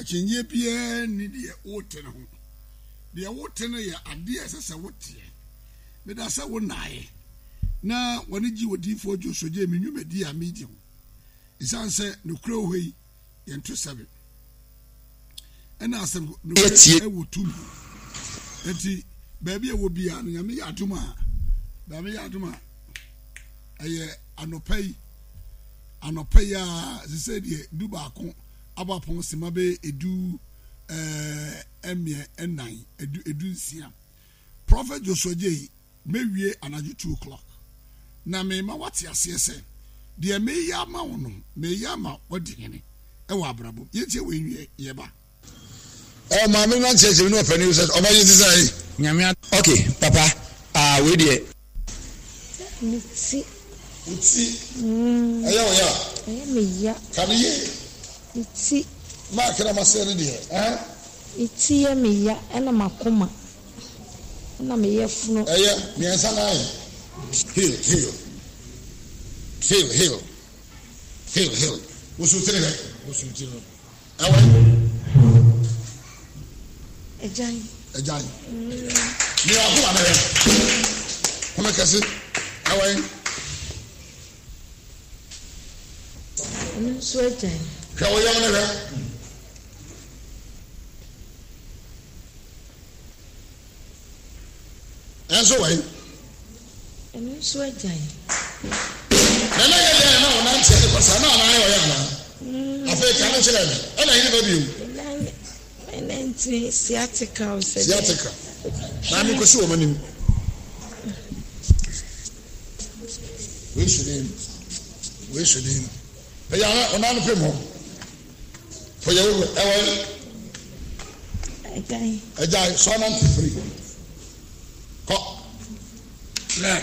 Akyinnyeɛ biara nni deɛ wote no ho. Deɛ wote no yɛ adeɛ a ɛsɛ sɛ woteɛ. Meda sɛ wo nnaeɛ na wɔne gye odiyifoɔ Joshua gyee me nnwumadie a medi ho. Ɛsiane sɛ nokorɛ wɔ hɔ yi, yɛnto sɛbe. Ɛna asɛm nokorɛ wɔ tumi. Enti baabi a wɔ biara no, Nyame yɛ adom a, Nyame yɛ adom a, ɛyɛ anɔpa yi, anɔpa yi a, sɛ sɛ deɛ 11 abɔ apɔn sima bɛyɛ edu ɛɛ mmiɛ ɛnan, edu 16. Prophet Joshua Jay mɛwie anadwo 2 o'clock na mema wate aseɛ sɛ deɛ meyɛ ama wo no meyɛ ama wadi hene ɛwɔ abrabɔ mu. Yɛntie wei nwie yɛba. Ɔ maame no ankyerɛkyerɛ me ne ɔpanin sɛ ɔba yi te sɛ. Nyame ad. Ok papa ah wei deɛ. Me ti. Wo ti ɛyɛ wo ya? Ɛyɛ me ya. Ka no yie. Me ti. Mark na masɛe no deɛ eh. Me ti yɛ me ya ɛna m'akoma ɛna me yafunu. Ɛyɛ miɛnsa na ayɛ. Heal heal heal heal heal heal. Wosu tiri hwɛ wosu tiri no. Ɛwɔ he? Agyan. Agyan. Nea akoma no hwɛ. Home kɛse. Ɛwɔ he? Ɛno nso agyan. Hwɛ wo yam no hwɛ. Ɛnso wɔ he? Ɛno nso agyan. Na na yɛ dɛn na ɔnanteɛ ne kɔ saa na anan ɔyɛ anaa? Afei ka no kyerɛ me. Ɛna hene ba bio? Me nan nti sciatica o sɛ dɛn. Sciatica. Maame kɔsi wɔn anim. Wei so ne mu. Wei so ne mu. Ɛyɛ ana ɔnan no pem hɔ. Fɔyɛ wo ɛwɔ yi. Agyae. Agyae sɔ nante firi. Kɔ. Lɛ.